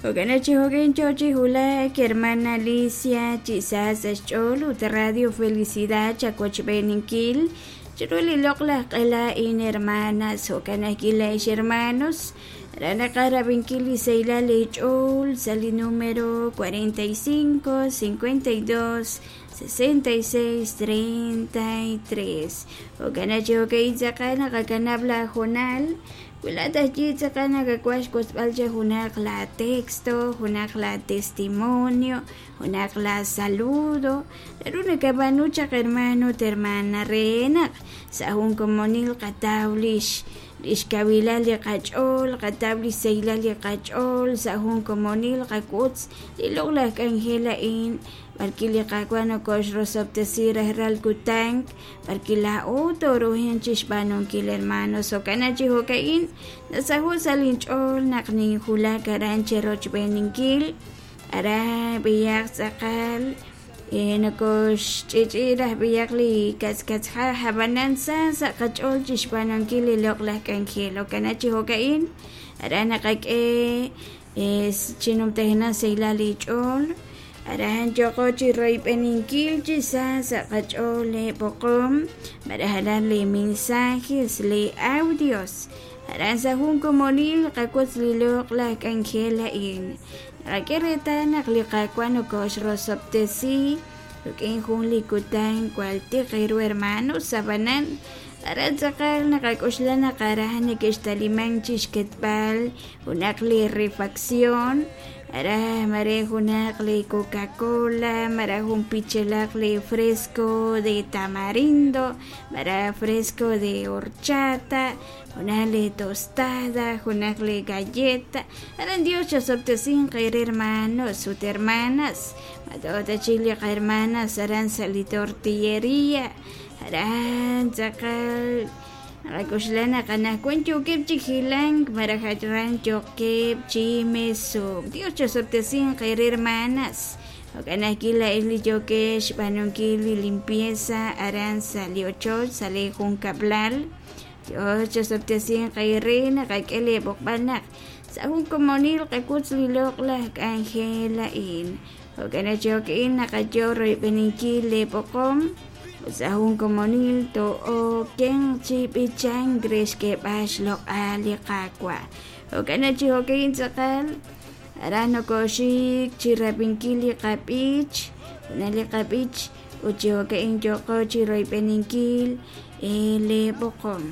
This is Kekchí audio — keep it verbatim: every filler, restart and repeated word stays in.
Jo'kan chi jo'kan yo chi wulak hermana Alicia chi sa sa' xch'ool ut Radio Felicidad chawochb'eeninkil chiru li loq'laj q'ela a'in hermanas. Jo'kan ajwi' laa'ex hermanos aran naqaj rab'inkil li sahilal eech'ool sa' li número cuarenta y cinco, cincuenta y dos, sesenta y seis, treinta y tres. Jo'kan chi jo'kan tz'aqal naqakanab' la hoonal wi laa'at aj yi tz'aqal nakawaj xwotzb'al cha junaq la texto, junaq la testimonio, junaq la saludo naru nakab'aanu chaq hermano ut hermana re naq sa' jun komonil qataw lix lix kawilal li qach'ool, qataw li sahilal li qach'ool sa' jun komonil qawotz li loq'laj k'anjel a'in b'arki li Qaawa' nokoxrosob'tesi rajlal kutan b'arki laa'o tooruhanq chixb'aanunkil hermanos. Jo'kan chi jo'ka'in nasaho' sa' linch'ool naq ninjulak aran cherochb'eeninkil aran b'iyaq tz'aqal nokoxch'ich'i raj b'iyaq li katzkatzja' ab'anan sa sa' qach'ool chixb'aanunkil li loq'laj k'anjel. Jo'kan chi jo'ka'in aran naqak'e chinumtajenaq sahilal li ch'ool aran yoqo chi royb'eninkil chi sa sa' qach'ool le b'oqom malaj aran li mensajes li audios aran sa' jun komonil qawotz li loq'laj k'anjel a'in naqak'e reetal naq li Qaawa' nokoxrosob'tesi rik'in jun li kutan jwal tiq ru hermanos ab'anan aran tz'aqal naqak'oxla naq aran neke'xtaliman chixketb'al junaq li refacción aran mare junaq li Coca-Cola mara jun pichelaq li fresco de tamarindo mara fresco de horchata junaq li tostada junaq li galleta aran Dios chasob'tesinq eere hermanos ut hermanas mat'ota chik li qahermanas aran sa' li tortillería aran tz'aqal naqak'oxla naq anaqwan yookeb' chi hilank malaj aran yookeb' chi mesuk. Dios chasob'tesinq eere hermanas. Jo'kan ajwi' laa'ex li yookex xb'aanunkil li limpieza aran sa' li ochoch sa' li junkab'lal. Dios chasob'tesinq eere naqak'e leeb'oqb'al naq sa' jun komonil qawotz li loq'laj k'anjel a'in. Jo'kan chi jo'ka'in naqayo royb'eninkil leeb'oqom sa' jun komonil to'okenq chi b'ichank re xk'eeb'al xloq'al li Qaawa'. Jo'kan chi jo'ka'in tz'aqal aran nokoxik chi rab'inkil li qab'ich, junaq li qab'ich ut chi jo'ka'in yoqo chi royb'eninkil leeb'oqom.